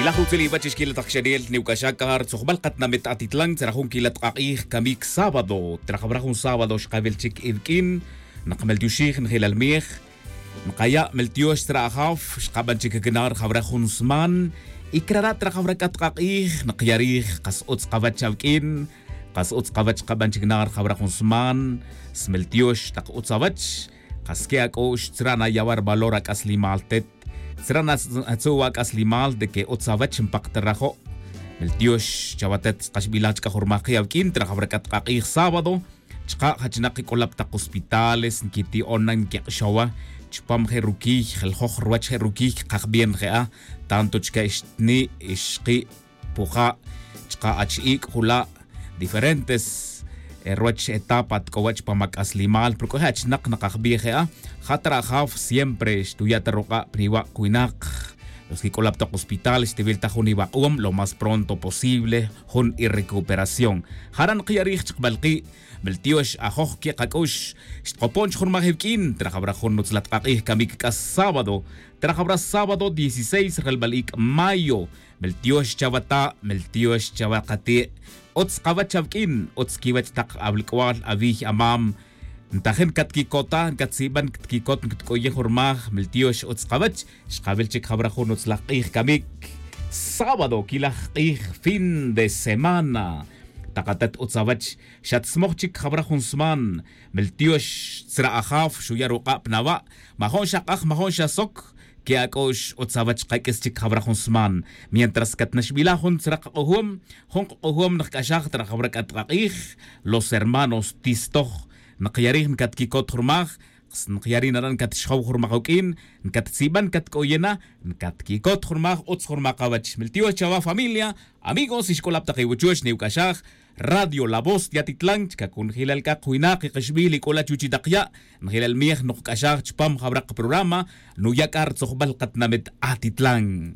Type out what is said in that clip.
Kilaj utzil iwach ixkila taq xeniel niwk'axakar tzojb'al qatnamit Atitlán tzarajun kila tqaq'ij kamik sábado trajab'raj un sábado xqab'il chik iwk'in naqmeltioxij njilal miej nqaya' meltiox tzra ajaw xqab'an chik knar jab'raj jun sman y krara trajab'raj k'a tqaq'ij nqyarij qas utz qawach awk'in qas utz qawach qab'an chik nar jab'raj jun sman smeltiox taq utz awach qas ke ak'ox tzrana yawar valor ak'aslimal tet tzrana atzuwa ak'aslimal de que utz awach npaqtarajo' meltiox chawatet qaxb'ilaj chka jurmaqi awk'in trajab'raj k'a tqaq'ij sábado chqa jachinaq k'olab' taq hospitales nkiti'ona nkiq'xowa chpam je rukiy jeljoj ruwach je rukiy qajb'ien je'a tanto chka ixtni ixqi puja chqa ach'ik jula diferentes ruwach etapa tk'owach pam ak'aslimal pero k'o je achinaq naqajb'ij je'a jatra ajaw siempre xtuya ta ruq'a' pniwa' winaq los que k'olab' taq hospitales xtiwil taj jun iwaq'uum lo más pronto posible jun irrecuperación jaran qiyarij chqb'alqi' meltiox ajoj ke qak'ux xtqopon chjurmaj iwk'in trajab'raj jun utzla tqaq'ij kamik k'as sábado trajab'raj sábado 16 relb'al ik' mayo meltiox chawata meltiox chawaqati' utz qawach awk'in utz kiwach taq awlk'wal awij amam ntajen katkikota nkatzib'an katkikot nkatk'oyej jurmaj meltiox utz qawach xqab'il chik jab'raj jun utzlaj q'ij kamik sábado kilaj q'ij fin de semana taqatat utzawach xatzmoj chik jab'raj jun sman meltiox tzra ajaw xuya ruq'a' pnawa' majon xaq'aj majon xasok ke ak'ox utzawach qak'is chik jab'raj jun sman mientras katnaxb'ilaj jun tzraq q'ujuum jun q'ujuum nqk'axaj tra jab'raj k'atqaq'ij los hermanos tistoj nqyarij nkatkikot jurmaj nqyari naran nkatxjow jurmaj awk'in nkatzib'an nkatk'oyena nkatkikot jurmaj utz jurmaj qawach meltiox chawa familia amigos ixk'olab' taq iwuchuch niwk'axaj Radio La Voz de Atitlán chkakun jilal kaq winaq iqixb'il ik'ola chuchitaqya' njilal miej noqk'axaj chpam jab'raq programa nuyak'ar tzojb'al qatnamit Atitlán.